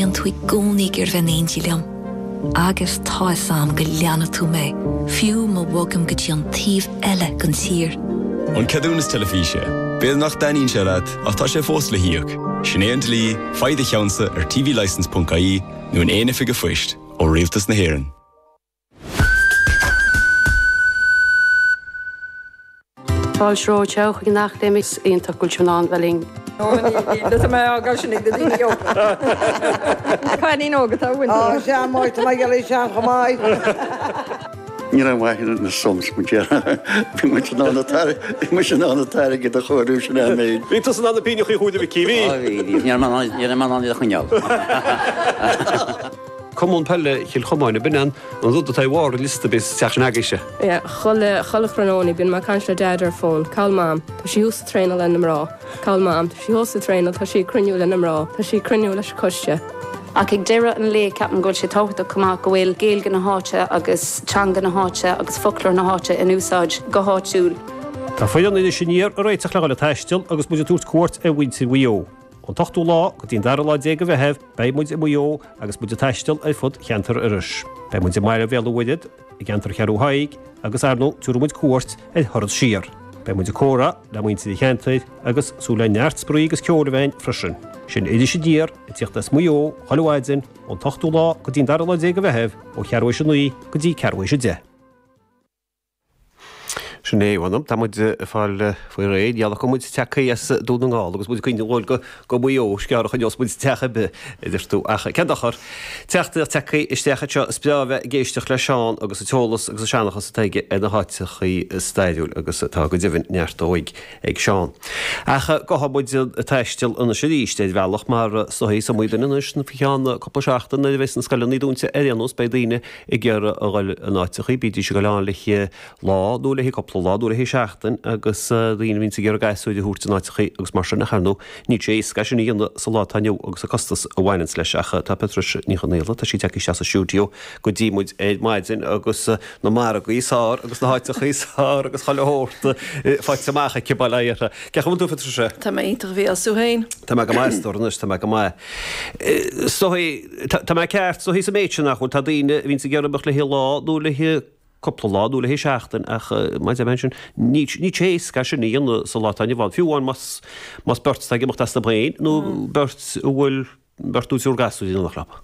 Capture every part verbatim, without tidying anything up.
bíonn tú i gcónaí ag iarraidh bheith in éindí liom. Agus tá a fhios agam go leanfaidh tú mé, fiú má bhogaim go dtí an taobh eile den tír. An ceadúnas teilifíse. B'fhéidir nach dtaitníonn sé leat ach tá sé fós le híoc. Sin é an dlí, faigh do cheannsa ar tvlicence.ie nó in aon oifig phoist ó Rialtas na hÉireann. Fáilte romhat chuig an Acadéim is iontach go bhfuil sibh in ann bheith linn. Tá mé á sin ag na daoine óga. Cailín óg atá uainn. Á sea má tá mé geall sean chomh maith. Ní raibh maith na sums mu Bhí muid in ann bhí muid in ann an t-airgead a chóiriú sin an méid. Bhí tusa in ann na pínneachaí a chúiteamh a Mhicí, bhí? Bhí, ní raibh mé in ann iad a choinneáil. Cumann Peile Chill Chomáin, ab in an rud atá i bharr an liosta bíos teach sin agaibhse. Yeah, chuile chuile thráthnóna bíonn mé ag caint le Dad ar fón. Cá bhfuil Mam? Tá sí thuas ag traenáil le na mná. Cá bhfuil Mam? Tá sí thuas ag traenáil, tá sí ag cruinniú le na mná, tá sí ag cruinniú leis an choiste. Ach ag deireadh an lae ceapaim go bhfuil sé tábhachtach chomh maith go bhfuil Gaeilge na háite agus teanga na háite agus foclóir na háite in úsáid go háitiúil. Tá foireann Iris Aniar ag réiteach le dhul ag taisteal agus muid ag tabhairt cuairt ar mhuintir Mhaigh Eo. Ón t-ochtú lá go dtí an dara lá déag de Mheitheamh beidh muid i Maigh Eo agus muid ag taisteal ar fud cheantar Iorrais. Beidh muid i mbaile Bhéal an Mhuirthead, i gceantar Cheathrú Thaidhg agus ar ndóigh tabharfaidh muid cuairt ar Thuras Siar. Beidh muid ag comhrá le muintir an cheantair agus súil le neart spraoi agus ceoil a bheith ann freisin. Sin Iris Aniar ag tíocht as Maigh Eo chuile mhaidin ón t-ochtú lá go dtí an dara lá déag de Mheitheamh ó cheathrú théis a naoi go dtí ceathrú théis a deich. Sin é, bhuel, tá muid ag fáil faoi réir, gheall go muid tagtha as Dún na nGall agus muid ag cuimhneamh go go Maigh Eo, sceár a choinneos muid teach ar bith, a deir tú, ach cén dochar? Teachtaireacht tagtha isteach anseo, is breá a bheith ag éisteacht le Seán agus an t-eolas agus an seanchas atá aige ar na háiteachaí stairiúil agus tá go deimhin neart dóigh ag Seán. Ach gabhfaidh muid ag taisteal anois arís ar bhealach mar is dóigh is iomaí duine anois faoi cheann cúpla seachtain nuair a bheas na scoileanna dúnta ar aon nós beidh daoine ag iarraidh a dhul in áiteachaí, bídís ag dul ann le lá nó le cúpla lá nó le seachtain agus daoine a bhíonns ag iarraidh gasúir a thabhairt in áiteachaí agus mar sin ach ar ndóigh níl sé éasca sin a dhéanamh sa lá atá inniu agus an costas a bhaineanns leis ach tá Patricia Ní Chonaola, tá sí tagtha isteach sa stiúideo go dtí muid ar maidin agus na margaí is fearr agus na háiteachaí is fearr agus chuile shórt faighte amach aici bail ó Dhia uirthi. Cén chaoi a bhfuil tú Patricia? Tá mé iontach a Mhícheáil, 's tú féin? Tá mé go maith, a stór anois, tá mé go maith. Is dóigh, tá mé ceart, is dóigh sa méid sin nach bhfuil, tá daoine a bhíonns ag iarraidh imeacht le lá nó le cúpla lá nó le seachtain ach mar a deir mé ansin, níl sé éasca sin a dhéanamh sa lá atá inniu ann, fiú amháin más más beirt atá ag imeacht astu féin nó beirt a bhfuil beirt nó triúr gasúr in éineacht leo.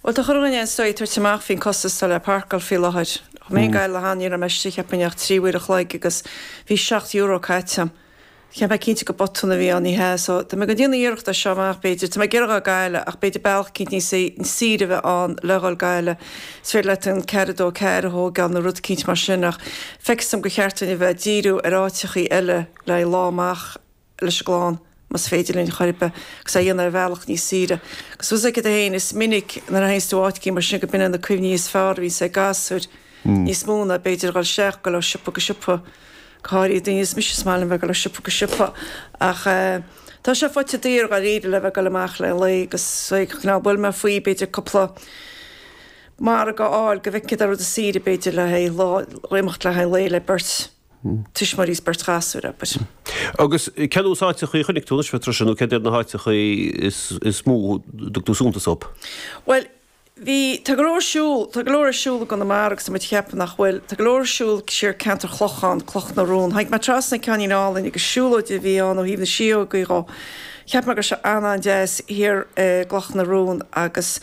Bhuel tá chuile dhuine is dóigh ag tabhairt amach faoin costas atá le páirceáil faoi láthair. Chuaigh mé go Gaillimh cheana, ní raibh mé istigh cheapfainn ach trí uair a chloig agus bhí seacht euro caite agam. Cheap mé cinnte gur botún a bhí ann, ní hea. So, tá mé ag déanamh iarracht as seo amach, b'fhéidir. Tá mé ag iarraidh dhul Gaillimh, ach b'fhéidir bealach eicínt níos saoire a bheith ann le dhul Gaillimh. Is féidir leat an ceathair a dó ceathair a thógáil nó rud eicínt mar sin, ach feictear dom gur cheart dúinn a bheith ag díriú ar áiteachaí eile le haghaidh lá amach leis an gclann, más féidir linn chor ar bith, agus é a dhéanamh ar bhealach níos saoire. Agus tá a fhios agat féin, is minic nuair a théanns tú áit eicínt mar sin go b'in na cuimhní is fearr a bhíonns ag gasúir, níos mó ná b'fhéidir a dhul isteach, dhul ó siopa go siopa. Go háirithe daoine is mise is maith liom bheith ag dul ó siopa go siopa ach tá sé faighte daor dháiríre le bheith ag dul amach le lae agus cineál bhuail mé faoi b'fhéidir cúpla margadh a fháil go bhfeicfidh rud is saoire b'fhéidir le haghaidh lá imeacht le haghaidh lae le beirt tuismitheoirí is beirt ghasúr abair. Agus cén nós áiteachaí a chonaic tú anois Patricia nó céard iad na háiteachaí is mó a dtug tú suntas dóibh? Bhuel, Bhí, tá go leor ar siúl, tá go leor ar siúl i gConamara agus tá muid ag ceapadh nach bhfuil. Tá go leor ar siúl siar ceantar Chlocháin, Cloch na Rón. Tháinig mé trasna ceainnín álainn agus siúlóid a bhí ann ó thaobh na síógaí dhó. Cheap mé go raibh sé an-an-deas thiar i gCloch na Rón agus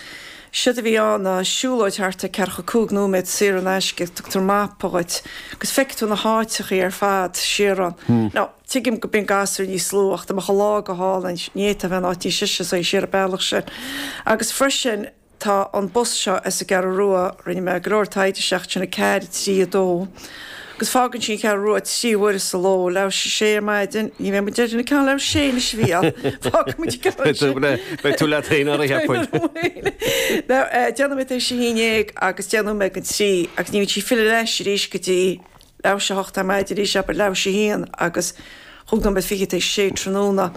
séard a bhí ann ná siúlóid thart ar ceathracha cúig nóiméad saor in aisce, tugtar mapa dhuit agus feicfidh tú na háiteachaí ar fad siar ann. Now, tuigim go mbíonn gasúir níos lú ach dá mbeadh an lá go hálainn, ní fhéadfá a bheith in áit níos deise is siar an bealach sin. Agus freisin, Tá an bus seo as an gCeathrú Rua, rinne mé go leor taighde seachtain a ceathair, a trí, a dó, agus fágann sí an Cheathrú Rua trí huaire sa ló, leathuair théis a sé ar maidin, ní bheidh muid ar an ceann leathuair théis a sé anois a Mhícheáil, fágfaidh muid an ceann sin. Beidh tú leat féin ar a cheapfainn. Deich nóiméad théis a haon déag agus deich nóiméad don trí agus ní bhíonn sí ag filleadh ar ais arís go dtí leathuair théis a hocht ar maidin arís, abair leathuair théis a haon agus chúig nóiméad fiche tar éis a sé tráthnóna.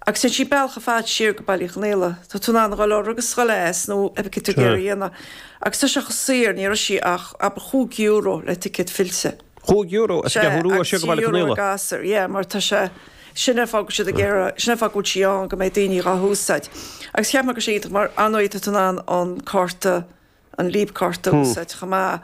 Agus téann sí bealach ar fad siar go Baile Uí Chonaola. Tá tú in ann a dhul orthu agus a dhul as nó cibé céard tá tú ag iarraidh a dhéanamh. Agus tá sé chomh saor, ní raibh sí ach, abair, chúig euro le ticéad fillte. Chúig euro as an Sea, gCeathrú Rua agus siar go trí Baile Uí euro Chonaola. ag gasúr, yeah, mar tá sé, Sin an fáth go bhfuil siad ag iarraidh, sin an fáth go bhfuil sí ann, go mbeidh daoine dhá húsáid. Agus cheap mé go sé iontach mar ar ndóigh tá tú in ann an cárta, an Leap cárta a úsáid chomh maith.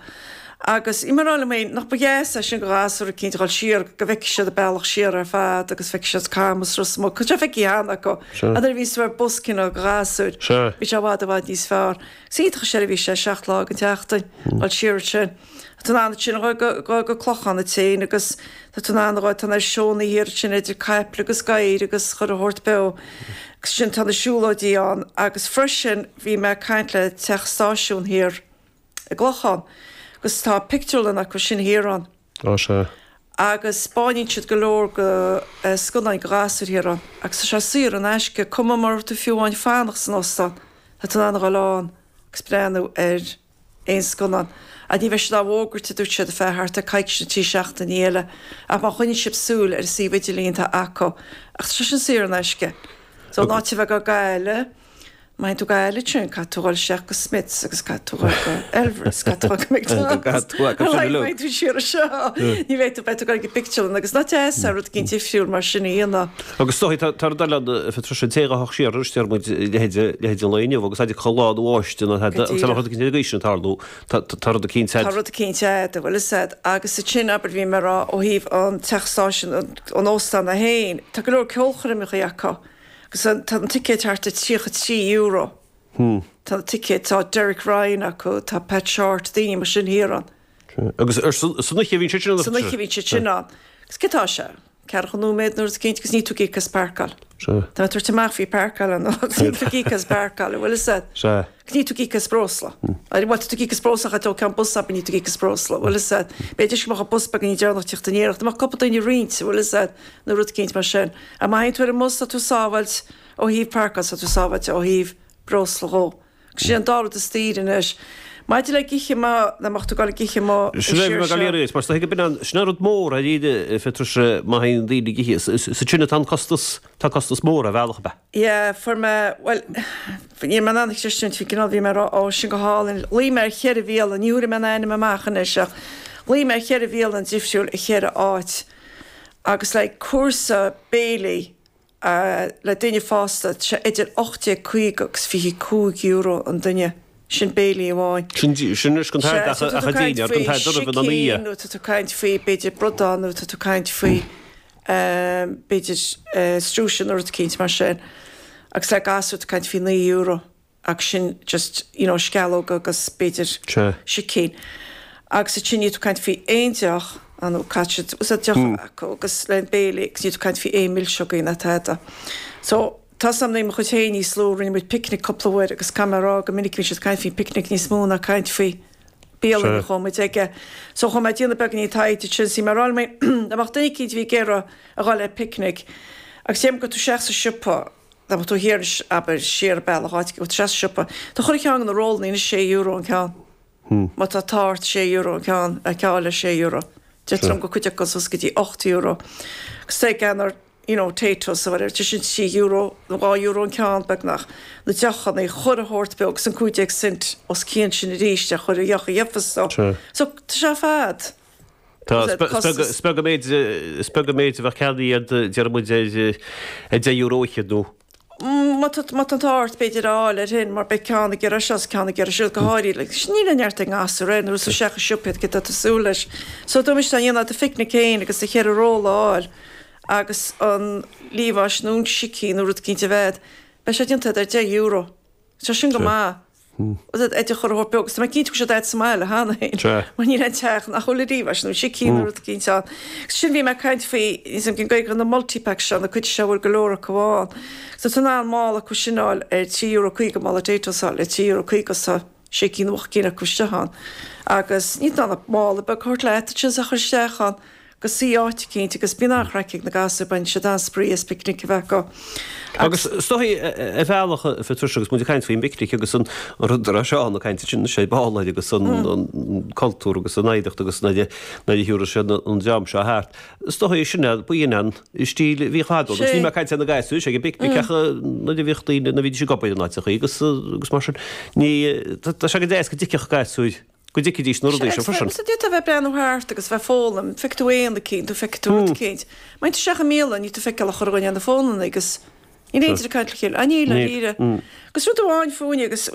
Agus í mar rá liom féin nach ba dheas é sin go ghasúir eicínt a dhul siar, go bhfeicfidh siad an bealach siar ar fad agus feicfidh siad Camas Ros Muc, tá sé feicthe cheana acu. Ach nuair a bhíos tú ar bus cineál go ghasúir, bhí sé i bhfad i bhfad níos fearr. Is iontach an seirbhís é seacht lá den tseachtain, dhul siar ansin. Tá tú in ann ansin a dhul go go Clochán duit féin agus tá tú in ann a dhul, tá na seónna thiar ansin idir caiple agus gadhair agus chuile shórt beo. Agus sin tá na siúlóidí ann agus freisin bhí mé ag caint le teach stáisiún thiar i gClochán agus tá pictiúrlann acu sin thiar ann. Á sea. Agus 'spáineann siad go leor go scannáin go ghasúir thiar ann agus tá sé saor in aisce, cuma mura raibh tú fiú amháin fanacht san óstán, tá tú in ann a dhul ann agus breathnú ar aon scannán. Ach ní bheidh siad á bhfógairt, a dúirt siad, ar feadh thart ar coicís nó trí seachtainí eile, ach má choinníonn sibh súil ar an suíomh idirlín tá acu. Ach tá sé sin saor in aisce. So an áit a bheith ag Gaillimh, má théann tú go Gaillimh ansin, caithfidh tú dhul isteach go Smiths agus caithfidh tú dhul go Elverys, caithfidh tú dhul go McDonald's. Má théann tú siar anseo, ní bheidh tú, beidh tú ag dul go pictiúrlann agus nach deas é rud eicínt difriúil mar sin a dhéanamh. Agus is dóigh, tá rud eile ann, a Phatricia, an té a ghabhfadh siar arís, deir muid, leithéid, leithéid an lae inniu agus a chuile lá nó áiste nó tada, agus tá rud eicínt ar an gcaoi sin ag tarlú, tá, tá rud eicínt Tá rud eicínt a'd, bhfuil fhios a'd, agus ansin, abair, bhí mé ag rá ó thaobh an teach stáisiúin, an, an óstán é féin, tá go leor ceolchoirmeacha acu agus an, tá an ticéad thart ar tríocha trí euro. Tá na ticéid, tá Derek Ryan acu, tá Pat Shortt, daoine mar sin thiar ann. Agus ar san oíche a bhíonn siad sin ann? San oíche a bhíonn siad sin ann. Agus cé tá sé? Ceathracha nóiméad nó rud eicínt agus ní tú ag íoc as páirceáil. Sea. Tá mé ag tabhairt amach faoi páirceáil ann agus ní tú ag íoc as páirceáil, an bhfuil fhios a'd? Sea. Agus ní tú ag íoc as breosla. Bhuel, tá tú ag íoc as breosla ach tá ceann bus abair ní tú ag íoc as breosla, an bhfuil fhios a'd? B'fhéidir go mbeadh an bus beag ní deireanach teacht aniar ach dá mbeadh cúpla duine ag roinnt, an bhfuil fhios a'd, nó rud eicínt mar sin. Ach má théann tú ar an mbus tá tú sábháilt ó thaobh páirceáil, tá tú sábháilte ó thaobh breosla dhó. Agus sin an dá rud is daoire anois. Maidir le ithe amuigh, dá mbeadh tú ag dul ag ithe amuigh Sin é, bhí mé ag dul iarraidh, mar is dóigh go b'in an, sin an rud mór ar iad, a Phatricia, má théann daoine ag ithe, is sin atá an costas, tá costas mór ar bhealach, ab ea? Yeah, fuair mé, bhuel, ní raibh mé in ann a chreistiúint, bhí cineál, bhí mé ag rá, ó, sin go hálainn. Ghlaoigh mé ar cheithre bhialann, ní thabharfaidh mé an ainm amach anois ach ghlaoigh mé ar cheithre bhialann difriúil i cheithre áit agus le cúrsa béilí, le duine fásta, tá sé idir ocht déag caoga agus fiche cúig euro an duine. Sin béilí amháin. Sin sin anois don Sea, t-aird so ach tá ach tú a ag caint déine, don faoi t-aird dorbh in an sicín oíche. nó tá tú ag caint faoi b'fhéidir bradán nó tá tú ag caint faoi b'fhéidir strúise nó rud eicínt mar sin. Agus le gasúr tá tú ag caint faoi naoi euro. Agus sin just, you know, sceallóga agus b'fhéidir Sea. sicín. Agus ansin níl tú ag caint faoi aon deoch, ah nó caithfidh siad úsáid deoch a bheith acu agus le an béilí agus níl tú ag caint faoi aon milseogaí ná tada. So, tá 's a'm mo chuid féin níos lú, rinne muid picnic cúpla uair agus caithfidh mé a rá go minic bhí siad ag caint faoin picnic níos mó ná caint faoi bialann a chuaigh muid aige. So chuaigh mé ag déanamh beagáinín taighde ansin, is bhí mé ag rá liom féin dá mbeadh duine eicínt a bhí ag iarraidh a dhul ar picnic agus déarfainn go tú isteach sa siopa, Dá mbeadh tú thiar anois, abair, siar an bealach, áit go bhfuil tú isteach sa siopa, tá chuile cheann de na rollannaí anois sé euro an ceann. Má tá tart, sé euro an ceann, a ceáil le sé euro. Deirtear liom go cuid acu suas go dtí ocht euro. Agus tá ag ceann ar, you know, Taytos or whatever, tá sin trí euro, nó dhá euro an ceann, beagnach. Na deochanna, chuile shórt beag, agus an cúig déag cent os cionn sin arís ar chuile dheoch a gheofas tú. So, tá sé ar fad. Tá, is beag an méid, is beag an méid a bheadh ceannaithe iad, déarfaidh muid, ar deich euro fhichead nó. Má tá an t-ádh ort, b'fhéidir, a fháil air sin, mar beidh ceann ag iarraidh seo is ceann ag iarraidh siúd, go háirithe, like, níl an neart ag ngasúr air, nuair is isteach i siopa iad, céard atá tú súil leis. So, dá mbeimis dá ndéanamh do phicnic féin agus do cheithre rolla a fháil agus an liamhás nó an sicín nó rud eicínt a bheith, beidh sé déanta ar deich euro. Tá sin go maith. Idir chuile shórt beag, agus tá mé cinnte go bhfuil siad a'd sa mbaile cheana féin, mar níl aon teach nach bhfuil liamhás nó sicín nó rud eicínt ann. Agus sin bhí mé ag caint faoi, níl 's a'm cén Gaeilge, na multipacks seo, na cuid seo a bhfuil go leor acu ann. So tá tú in ann mála acu sin a fháil ar trí euro caoga, mála Taytos a fháil ar trí euro caoga is tá sé cinn nó ocht gcinn acu isteach ann. Agus níl tú in ann mála beag a thabhairt leat ansin is a chur isteach ann. go suí áit eicínt agus bíonn an-chraic ag na gasúir, baineann siad an-spraoi as picnic a bheith acu. Agus is dóigh, ar bhealach, a Phatricia, agus muid ag caint faoin bpicnic agus an rud a raibh Seán ag caint ansin anois ar ball air agus an cultúr agus an oidhreacht agus nuair a thiúrfadh sé an dream seo thart, is dóigh sin é, b'in an stíl a bhíodh fadó. Agus níl mé ag caint ar na gasúir ag an bpicnic ach nuair a bhíodh daoine, nuair a bhídís ag obair in áiteachaí agus agus mar sin, ní, tá sé go deas go dtiocfadh gasúir go dtuigfidís na rudaí seo freisin. Sea, d'fhéadfá bheith ag breathnú thart agus bheith ag foghlaim, feicfidh tú éan eicínt, nó feicfidh tú rud eicínt. Má théann tú isteach i mbialann, níl tú ag feiceáil ach chuile dhuine ar na fónanna agus níl aon duine ag caint le chéile. Ah, níl, dáiríre. Agus rud amháin fúinne agus,